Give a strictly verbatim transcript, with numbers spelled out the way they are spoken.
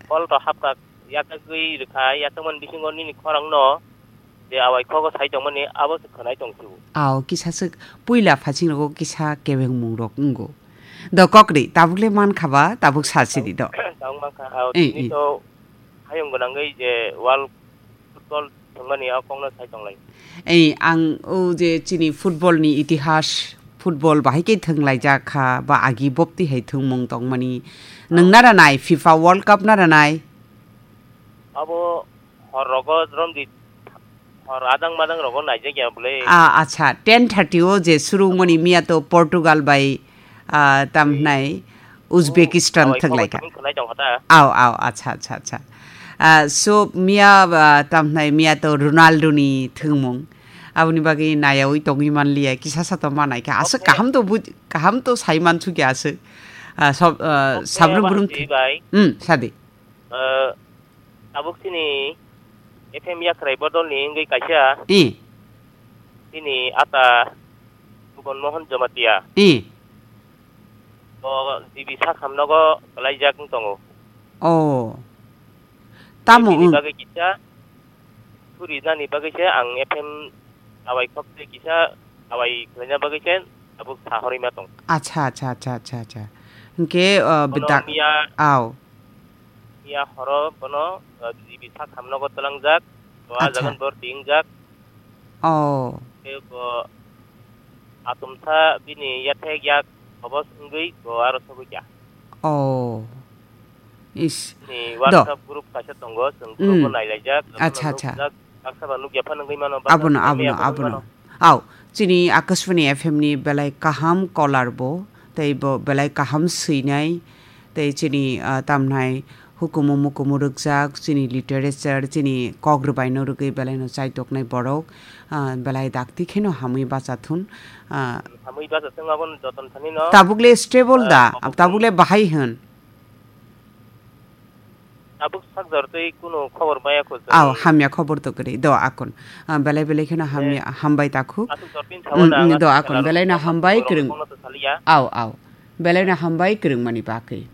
Call to hapkha, yatagwi rwkha, yatagmani bisingo nini khorangno je awai khogo sai tongmani abo se khwnai tongsu. Ao kisa swk puila phasing rogo kisa kebengmung rok wngo. Do kokri, tabuk le man kha ba, tabuk sa sidi do. Tabuk man kha, ao Eh, tini eh. to hayung gwnangwi je World Football thwngmani o kokno sai tonglai. Ei, ang o je chini football ni itihas, football bahai khe thwnglaijak kha, ba agi bopti hai thwngmung tongmani. Nwng nara nai FIFA World Cup nara nai? Abo hor rogo romdi, hor adang madang rogo naijak ya bwle. Ah, acha, ten thirty o je surungmani miya to Portugal bai, ah, tam Hmm. hnai Uzbekistan Oh, thwnglaikha. Khwnai tongkha ta. Ao, ao, acha, acha, acha. Ah, so miya, ah, tam hnai miya to Ronaldo ni thwngmung. Aboni bagwi nayawi tongwi manliya, kisa sa to manaikha. Aswk Okay. kaham to buj-, kaham to sai mansukya aswk. Ah, sob-, ah, Okay, sabrum brum Abang thwng-, Bai. Hmm, sadi. Eh, tabuk chini F M Yakhrai bodolni wngwi kaisa. I. Chini ata Subon Mohan Jamatia. I. Bo G B Sakham nogo kwlaijak wng tongo. Oh. Tamo Bini wng? Bagwi kisa, suri nani bagwi se ang F M awai khok tei kisa awai khlaina bagwi se tabuk sa horwi ma tong. Acha, acha, acha, acha, acha. Hwnkhe, uh, Bono bedak-, miya, ao. Miya horo bono, uh, G B Sakham nogo twlangjak, to a Acha. jagan bor tingjak. Oh. Tei bo atumsa bini yathek yak hobos wngwi bo aro sogwi kha. Oh. Is. Ni Do. WhatsApp group kaisa tongo, chwng group o Mm. nailaijak, Acha, abono acha. nukjak, baksa ba nukya phano wngwi mano, baksa Abono, ba abono, naiya phano wngwi abono. mano. Ao, chini Akashvani F M ni belai kaham caller bo, tei bo belai kaham swinai, tei chini, ah, tamnai hukumu mukumu rwkjak, chini literature, chini kok rwbaino rwgwi belaino chaitoknai borok, ah, belai dakti kheno hamwi bachathun, ah, Hamwi bachathung abono joton thani no, tabuk le stable ah, da, kok tabuk le bahai hwn. Tabuk sakjor tei kunu khobor maya kho chwng. Ao, hamya khobor to kwrwi. Do, akon. Ah, belai belai kheno hamya, Eh, hambai takhuk. Aswk jor pin Mm, sawana mm, ang do, aswk akon. Belai no hambai kwrwng. Bono to saliya. Ao, ao. Belai no hambai kwrwng mani bagwi.